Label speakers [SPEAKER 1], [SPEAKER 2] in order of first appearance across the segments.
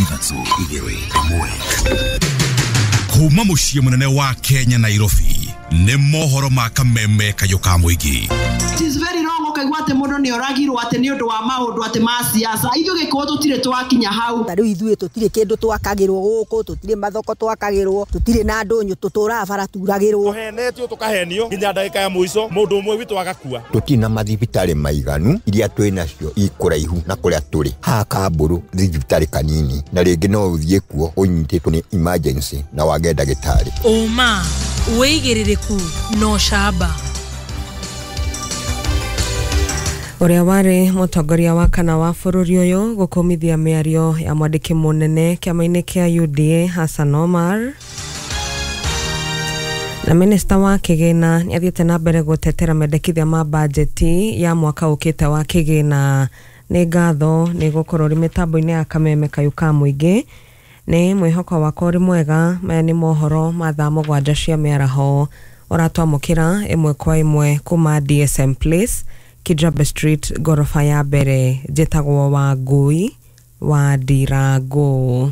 [SPEAKER 1] 3 2 1. Kuma muciĩ mũnene wa Kenya Nairobi nĩ mohoro ma kameme kayũ ka mũingĩ.
[SPEAKER 2] It is very wrong ũkaigua atĩ mũndũ nĩ oragirwo atĩ nĩ ũndũ wa maũndũ atĩ ma siasa. Ithuĩ Gĩkũyũ tũtirĩ twakinya hau.
[SPEAKER 3] Ta rĩu ithuĩ tũtirĩ kĩndũ twakagĩrwo gũkũ, tũtirĩ mathoko twakagĩrwo, tũtirĩ na ndũnyũ, tũtũraga bara turagĩrwo.
[SPEAKER 4] Tũhenetio tũkahenio nginya ndagĩka ya mũico mũndũ ũmwe witũ agakua.
[SPEAKER 5] Tũtirĩ na mathibitarĩ maiganu, iria twĩ nacio ikũraihu na kũrĩa tũrĩ. Haha Kambũrũ thibitarĩ kanini, na rĩngĩ no ũthiĩ kuo ũnyitĩtwo nĩ emergency na wage ndagĩtarĩ.
[SPEAKER 6] Ũma, wĩigĩrĩrĩku na ũcamba.
[SPEAKER 7] Ũrĩa warĩ mũtongoria wa kana wa bũrũri ũyũ gũkũmithia mĩario ya mwandĩki mũnene kĩama-inĩ kĩa UDA Hassan Omar. Na minista wa kĩgĩna nĩathiĩte na mbere gũtetera mendekithia ma bajeti ya mwaka ũkĩte wa kĩgĩna. Nĩ ngatho nĩ gũkorwo ũrĩ mĩtambo-inĩ ya kameme kayũ ka mũingĩ. Nĩ mwĩhoko wakwa ũrĩ mwega. Maya nĩ mohoro ma thaa 7 cia mĩaraho ũratwamũkĩra ĩmwe kwa ĩmwe kuma DSM Place, Kijabe Street, gorofa ya mbere. Njĩtagwo Wangui wa Ndirango.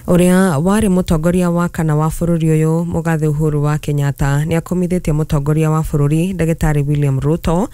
[SPEAKER 7] Ũrĩa warĩ mũtongoria wa kana wa bũrũri ũyũ Mũgathe Uhuru wa Kenyatta nĩakũmithĩtie mũtongoria wa bũrũri Ndagĩtarĩ William Ruto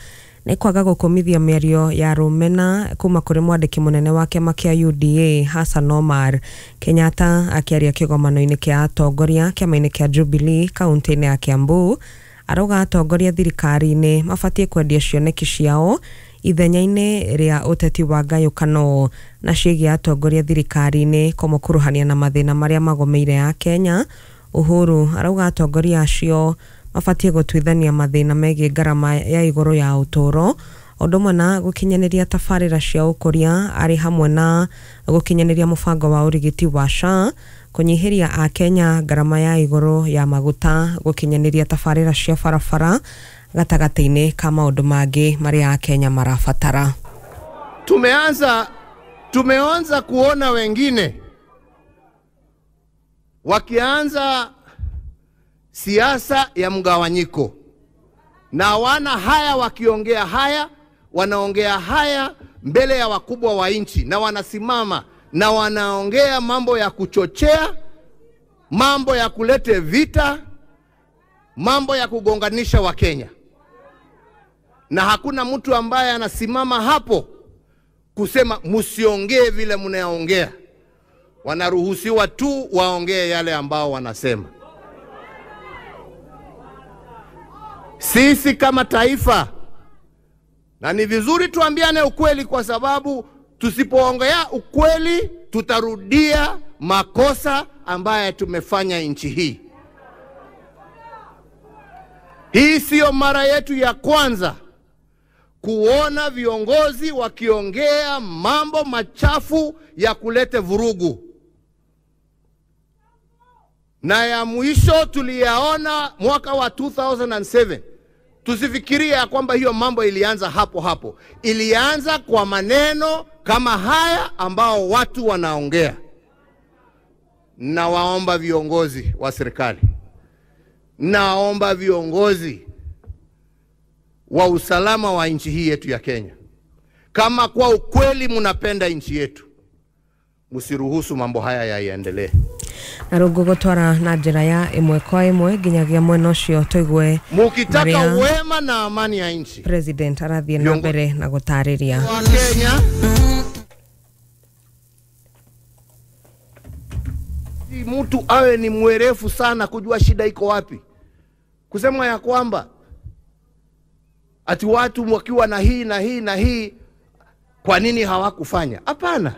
[SPEAKER 7] nĩ kwaga gũkũmithia mĩario ya rũmena kuma kũrĩ mwandĩki mũnene wa kĩama kĩa UDA Hassan Omar. Kenyatta akĩaria kĩgomano-inĩ kĩa atongoria kĩama-inĩ kĩa Jubilee kaunti-inĩ ya Kiambu arauga atongoria thirikari-inĩ mabatiĩ kwendia cioneki ciao ithenya-inĩ rĩa ũteti wa ngayũkano na ciĩgiĩ atongoria thirikari-inĩ kũmũkuruhania na mathĩna marĩa magomeire ya Kenya. Uhuru arauga atongoria acio mabatiĩ gũtuithania mathĩna megiĩ ngarama ya igũrũ ya ũtũũro ũndũ ũmwe na gũkinyanĩria tabarĩra cia ũkũria arĩ hamwe na gũkinyanĩria mũbango wa ũrigiti wa SHA, kũnyihĩria akenya ngarama ya igũrũ ya maguta, gũkinyanĩria tabarĩra cia barabara gatagatĩ-inĩ ka maũndũ mangĩ marĩa akenya marabatara.
[SPEAKER 8] Tumeanza kuona wengine wakianza siasa ya mgawanyiko, na wana haya wakiongea haya, wanaongea haya mbele ya wakubwa wa nchi, na wanasimama na wanaongea mambo ya kuchochea, mambo ya kulete vita, mambo ya kugonganisha wa Kenya. Na hakuna mtu ambaye anasimama hapo kusema msiongee vile mnaongea. Wanaruhusiwa tu waongee yale ambao wanasema. Sisi kama taifa, na ni vizuri tuambiane ukweli, kwa sababu tusipoongea ukweli tutarudia makosa ambaye tumefanya nchi hii. Hii sio mara yetu ya kwanza kuona viongozi wakiongea mambo machafu ya kulete vurugu. Na ya mwisho tuliyaona mwaka wa 2007. Tusifikirie ya kwamba hiyo mambo ilianza hapo hapo. Ilianza kwa maneno kama haya ambao watu wanaongea. Na waomba viongozi wa serikali, naomba viongozi wa usalama wa nchi hii yetu ya Kenya, kama kwa ukweli mnapenda nchi yetu, msiruhusu mambo haya yaendelee.
[SPEAKER 7] Na rungu gutwara na njira ya ĩmwe kwa ĩmwe nginyagia mwena ũcio tũigue
[SPEAKER 8] mukitaka wema na amani ya nchi.
[SPEAKER 7] President arathiĩ na mbere na gũtarĩria
[SPEAKER 8] wa Kenya. Mtu awe ni mwerefu sana kujua shida iko wapi. Kusema ya kwamba ati watu wakiwa na hii na hii na hii, kwa nini hawakufanya? Hapana.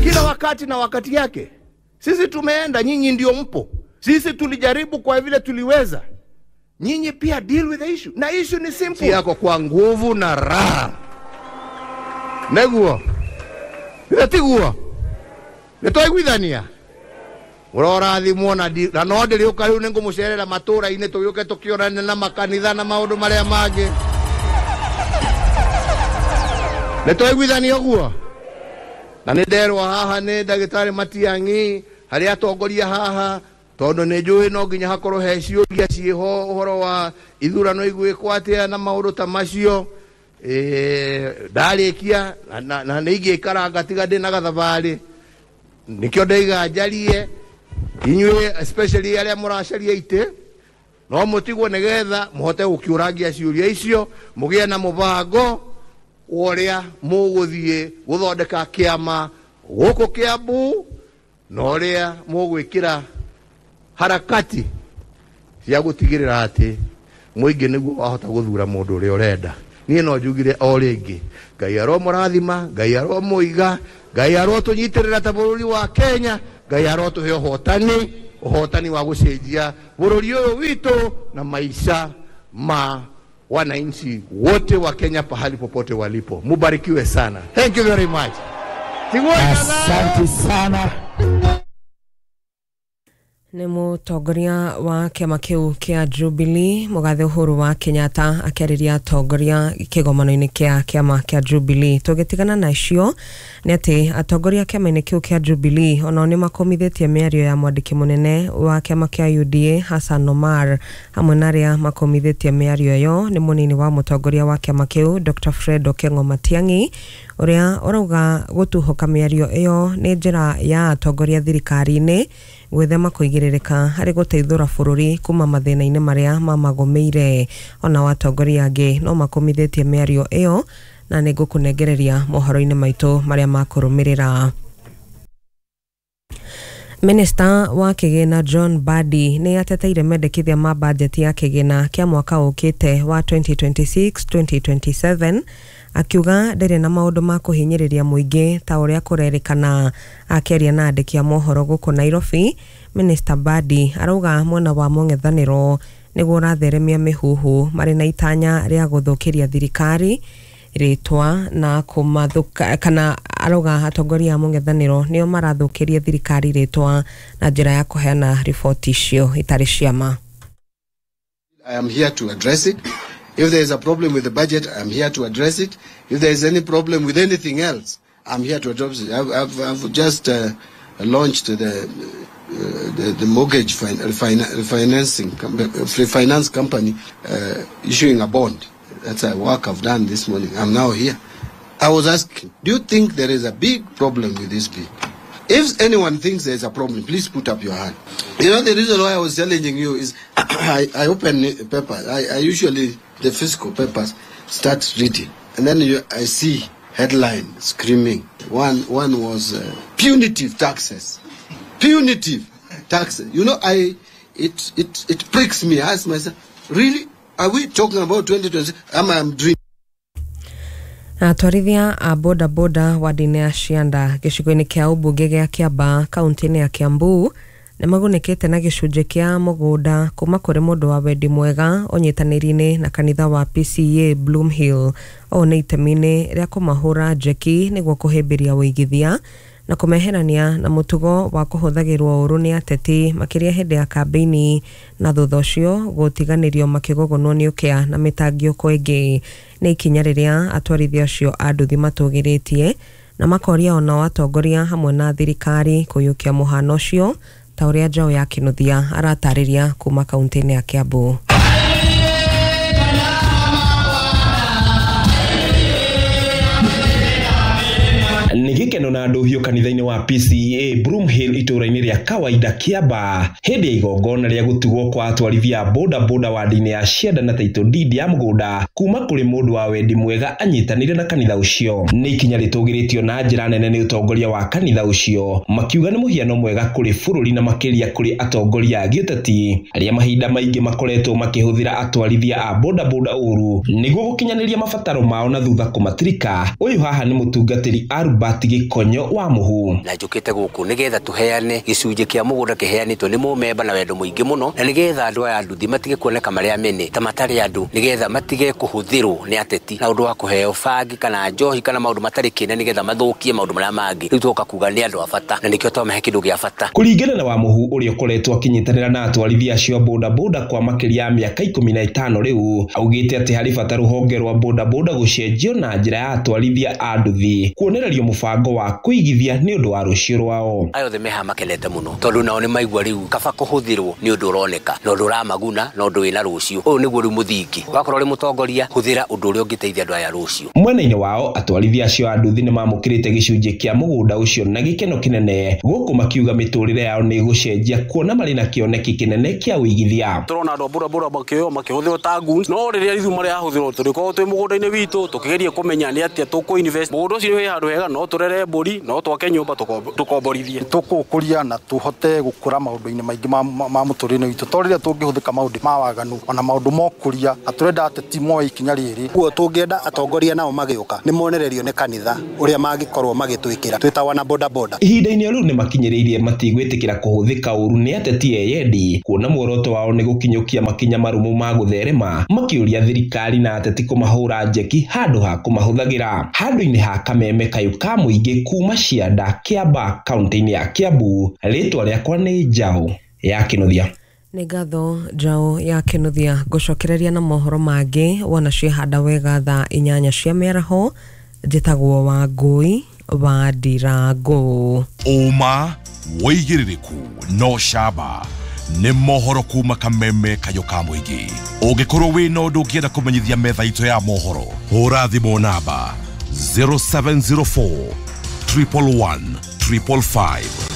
[SPEAKER 8] Kila wakati na wakati yake. Sisi tumeenda, nyinyi ndio mpo. Sisi tulijaribu kwa vile tuliweza. Nyinyi pia deal with the issue. Na issue ni simple. Yako kwa nguvu na raha. Neguo. Nitiguo. Nitoiguithania. Ũrorathimwo na no ndĩrĩũka rĩu nĩngũmũcerera matũra-inĩ tũgĩũke tũkĩonane na makanitha na maũndũ marĩa mangĩ. Nĩtwaiguithania ũguo? Na nĩnderwo haha nĩ ndagĩtarĩ Matiang'i harĩa atongoria haha, tondũ nĩnjũĩ no nginya hakorwo he ciũria ciĩho ũhoro wa ithurano igwĩkwo atĩa na maũndũ ta macio. Ndarĩkia na nĩ ingĩikara ngatiga ndĩ na gathabarĩ, nĩkĩo ndaiga njarie inyuĩ, especially arĩa mũracaria itĩ, no mũtigwo nĩgetha mũhote gũkĩũrangia ciũria icio, mũgĩe na mũbango wa ũrĩa mũgũthiĩ gũthondeka kĩama gũkũ Kiambu na ũrĩa mũgwĩkĩra harakati cia gũtigĩrĩra atĩ mũingĩ nĩguo wahota gũthura mũndũ ũrĩa ũrenda. Niĩ no njugire o rĩngĩ, Ngai aromũrathima, Ngai aromũiga, Ngai arotũnyitĩrĩra ta bũrũri wa Kenya, Ngai arotũhe ũhotani, ũhotani wa gũcenjia bũrũri ũyũ witũ na maisha ma wananchi wote wa Kenya pahali popote walipo. Mubarikiwe sana. Thank you very much.
[SPEAKER 9] Asante sana.
[SPEAKER 7] Nĩ mũtongoria wa kĩama kĩu kĩa Jubilee Mũgathe Uhuru wa Kenyatta akĩarĩria atongoria kĩgomano-inĩ kĩa kĩama kĩa Jubilee. Tũgĩtigana na icio nĩ atĩ atongoria kĩama-inĩ kĩu kĩa Jubilee onao nĩ makomithĩtie mĩario ya mwandĩki mũnene wa kĩama kĩa UDA Hassan Omar, hamwe na arĩa makomithĩtie mĩario ĩyo nĩ mũnini wa mũtongoria wa kĩama kĩu Dr. Fred Okengo Matiang'i, ũrĩa ũrauga gũtuhũka mĩario ĩyo nĩ njĩra ya atongoria thirikari-inĩ gwĩthema kũigĩrĩrĩka harĩ gũteithũra bũrũri kuma mathĩna-inĩ marĩa mamagũmĩire. Ona atongoria angĩ no makomithĩtie mĩario ĩyo, na nĩ ngũkũnengereria mohoro-inĩ maitũ marĩa makũrũmĩrĩra. Minista wa kĩgĩna John Mbadi nĩ ateteire mendekithia ma bajeti ya kĩgĩna kĩa mwaka ũkĩte wa 2026-2027, akiuga ndĩrĩ na maũndũ ma kũhinyĩrĩria mũingĩ ta ũrĩa kũrerĩkana. Akĩaria na andĩki a mohoro gũkũ Nairobi, Minista Mbadi arauga mwena wa mũng'ethanĩro nĩguo ũratheremia mĩhuhu marĩ na itanya rĩa gũthũkĩria thirikari rĩtwa na kũmathũka, kana arauga atongoria a mũng'ethanĩro nĩo marathũkĩria thirikari rĩtwa na njĩra ya kũheana riboti icio itarĩ cia ma.
[SPEAKER 10] I am here to address it. If there is a problem with the budget, I'm here to address it. If there is any problem with anything else, I'm here to address it. I've just launched the mortgage refinance company issuing a bond. That's a work I've done this morning. I'm now here. I was asking, do you think there is a big problem with this bill? If anyone thinks there is a problem, please put up your hand. You know, the reason why I was challenging you is I open papers. I usually, the fiscal papers, start reading. And then I see headline screaming. One was punitive taxes. Punitive taxes. You know, it pricks me. I ask myself, really? Are we talking about 2020? I'm dreaming.
[SPEAKER 7] Atwarithia a boda boda wadi-inĩ ya Cianda gĩcigo-inĩ kĩa ũmbunge gĩa Kĩambaa kaunti-inĩ ya Kiambu nĩ magunĩkĩte na gĩcunjĩ kĩa mũgũnda kuma kũrĩ mũndũ wa wendi mwega ũnyitanĩri-inĩ na kanitha wa PCEA Bloomhill. Ũũ nĩ itemi-inĩ rĩa kũmahũra njeki nĩguo kũhĩmbĩria ũigithia na kũmeherania na mũtugo wa kũhũthagĩrwo ũru nĩ ateti makĩria hĩndĩ ya kambĩini, na thutha ũcio gũtiganĩrio makĩgũgũnwo nĩ ũkĩa na mĩtangĩko ĩngĩ. Nĩ ikinya rĩrĩa atwarithia acio a nduthi matũgĩrĩtie na makoria onao atongoria hamwe na thirikari kũiyũkia mũhano ũcio, ta ũrĩa Njaũ ya Kĩnuthia aratarĩria kuma kaunti-inĩ ya Kiambu.
[SPEAKER 11] Nĩ gĩkeno na ndũhiũ kanitha-inĩ wa PCEA Broomhill itũũra-inĩ rĩa kawaida Kĩambaa hĩndĩ ya igongona rĩa gũtugwo kwa atwarithia a boda boda wadi-inĩ ya Cianda na title deed ya mũgũnda kuma kũrĩ mũndũ wa wendi mwega anyitanĩire na kanitha ũcio. Nĩ ikinya rĩtũgĩrĩtio na njĩra nene nĩ ũtongoria wa kanitha ũcio, makiuga nĩ mũhiano mwega kũrĩ bũrũri na makĩria kũrĩ atongoria a gĩũteti arĩa mahinda maingĩ makoretwo makĩhũthĩra atwarithia a boda boda ũru nĩguo gũkinyanĩria mabataro mao na thutha kũmatirika. Ũyũ haha nĩ mũtungatĩri Albert Gĩkonyo wa Mũhu.
[SPEAKER 12] Na njũkĩte gũkũ nĩgetha tũheane gĩcunjĩ kĩa mũgũnda kĩheanĩtwo nĩ mũmemba na wendo mũingĩ mũno, na nĩgetha andũ aya nduthi matige kuoneka marĩ amene ta matarĩ andũ, nĩgetha matige kũhũthĩrwo nĩ ateti na ũndũ wa kũheo bangi kana njohi kana maũndũ matarĩ kĩene, nĩgetha mathũkie maũndũ marĩa mangĩ. Rĩu tũgoka kuga nĩ andũ a bata na nĩkĩo twamahe kĩndũ gĩa bata.
[SPEAKER 11] Kũringana na Wamũhu ũrĩa ũkoretwo akĩnyitanĩra na atwarithia acio a boda boda kwa makĩria ya mĩaka 15 rĩu, augĩte atĩ harĩ bata rũhonge rwa boda boda gũcenjio na njĩra ya atwarithia a nduthi kuonererio mũbango mũbango wa kũigithia nĩ ũndũ wa rũciũ rwao.
[SPEAKER 12] Aya othe meha makenete mũno tondũ nao nĩ maigua rĩu kaba kũhũthĩrwo nĩ ũndũ ũroneka na ũndũ ũramaguna na ũndũ wĩna rũciũ. Ũyũ nĩguo rĩu mũthingi. Wakorwo ũrĩ mũtongoria, hũthĩra ũndũ ũrĩa ũngĩteithia andũ aya rũciũ.
[SPEAKER 11] Mwena-inĩ wao atwarithia acio a nduthi nĩ mamũkĩrĩte gĩcunjĩ kĩa mũgũnda ũcio na gĩkeno kĩnene, gũkũ makiuga mĩtũrĩre yao nĩ ĩgũcenjia kuona marĩ na kĩoneki kĩnene kĩa ũigithia.
[SPEAKER 13] Tũrona andũ a bodaboda makĩoywo makĩhũthĩrwo ta goons, no rĩrĩa ithuĩ marahũthĩrwo tũrĩkorwo twĩ mũgũnda-inĩ witũ tũkĩgeria kũmenya nĩ atĩa tũkũ invest. Mũgũnda ũcio wĩ handũ hega, no tũrere mbũri, no twake nyũmba tũkomborithie.
[SPEAKER 14] Tũkũũkũria na tũhote gũkũra maũndũ-inĩ maingĩ ma mũtũrĩre witũ, to rĩrĩa tũngĩhũthĩka maũndũ ma waganu ona maũndũ ma ũkũria, na tũrenda ateti moe ikinya rĩrĩ.
[SPEAKER 15] Guo tũngĩenda atongoria nao magĩũka nĩ monererio nĩ kanitha ũrĩa mangĩkorwo magĩtwĩkĩra twĩta wana boda boda.
[SPEAKER 11] Ihinda-inĩ rĩu nĩ makinyĩrĩirie matigwĩtĩkĩra kũhũthĩka ũru nĩ ateti eyendi, kuona muoroto wao nĩ gũkinyũkia makinya marũmu ma gũtherema, makĩũria thirikari na ateti kũmahũra njeki handũ ha kũmahũthagĩra. Handũ-inĩ ha kameme kayũ ka mũingĩ kuma Cianda, Kĩamba, kaunti-inĩ ya Kiambu, rĩtwa rĩakwa nĩ Njaũ ya Kĩnuthia.
[SPEAKER 7] Nĩ ngatho Njaũ ya Kĩnuthia. Ngũcokereria na mohoro mangĩ wona ciehanda wega thaa 8 cia mĩaraho. Njĩtagwo Wangũi wa Ndirango.
[SPEAKER 1] Ũma wĩigĩrĩrĩku no camba nĩ mohoro kuma kameme kayũ ka mũingĩ. Ũngĩkorwo wĩna ũndũ ũngĩenda kũmenyithia metha itũ ya mohoro, hũra thimũ namba 0704 111 555.